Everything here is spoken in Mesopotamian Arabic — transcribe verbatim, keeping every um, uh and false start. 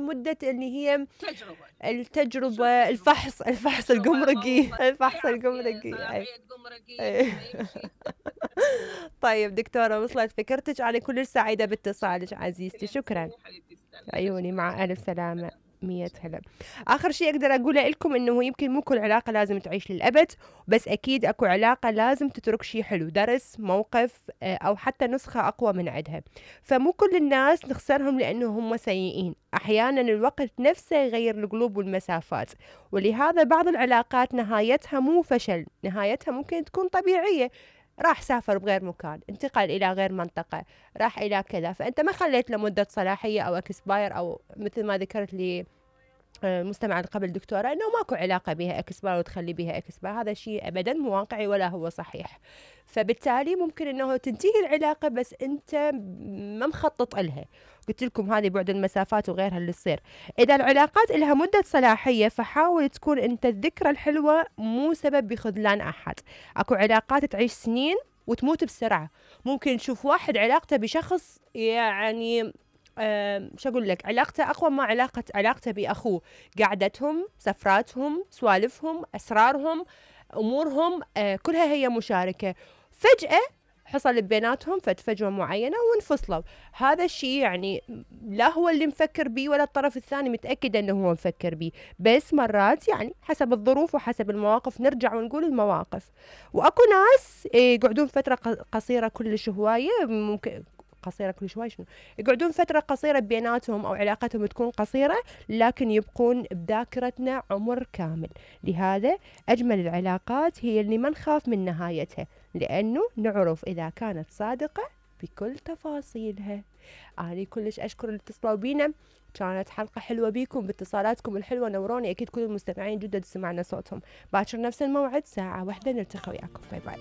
لمدة اللي هي تجربة التجربة الفحص الفحص الجمركي الفحص الجمركي. طيب دكتورة وصلت فكرتك، أنا كل سعيدة باتصالك عزيزتي، شكرا. عيوني مع ألف سلامة. مية هلا. آخر شيء أقدر أقوله لكم إنه يمكن مو كل علاقة لازم تعيش للأبد، بس أكيد أكو علاقة لازم تترك شيء حلو، درس، موقف، أو حتى نسخة أقوى من عدها. فمو كل الناس نخسرهم لأنه هم سيئين، أحيانا الوقت نفسه يغير القلوب والمسافات، ولهذا بعض العلاقات نهايتها مو فشل، نهايتها ممكن تكون طبيعية. راح سافر بغير مكان، انتقل إلى غير منطقة، راح إلى كذا، فأنت ما خليت له مدة صلاحية أو اكسباير، أو مثل ما ذكرت لي المستمع اللي قبل دكتورة أنه ماكو علاقة بها اكسباير وتخلي بها اكسباير، هذا شيء أبدا مو واقعي ولا هو صحيح. فبالتالي ممكن أنه تنتهي العلاقة بس أنت ما مخطط لها. قلت لكم هذه بعد المسافات وغيرها اللي تصير. إذا العلاقات لها مدة صلاحية فحاول تكون أنت الذكرى الحلوة مو سبب بخذلان أحد. أكو علاقات تعيش سنين وتموت بسرعة. ممكن تشوف واحد علاقته بشخص يعني أه شو أقول لك، علاقته أقوى ما علاقة علاقته بأخوه، قعدتهم، سفراتهم، سوالفهم، أسرارهم، أمورهم أه كلها هي مشاركة. فجأة حصل بيناتهم فجوة معينة وانفصلوا. هذا الشيء يعني لا هو اللي مفكر بيه ولا الطرف الثاني متأكد أنه هو مفكر بيه، بس مرات يعني حسب الظروف وحسب المواقف نرجع ونقول المواقف. وأكو ناس يقعدون فترة قصيرة كلش هواية، ممكن قصيرة كل شوي شنو يقعدون فترة قصيرة بيناتهم أو علاقتهم تكون قصيرة لكن يبقون بذاكرتنا عمر كامل. لهذا أجمل العلاقات هي اللي ما نخاف من نهايتها، لأنه نعرف إذا كانت صادقة بكل تفاصيلها. أنا كلش أشكر اللي اتصلوا بينا، كانت حلقة حلوة بيكم باتصالاتكم الحلوة، نوروني. أكيد كل المستمعين جدد سمعنا صوتهم. باكر نفس الموعد ساعة واحدة نلتقي وياكم. باي باي.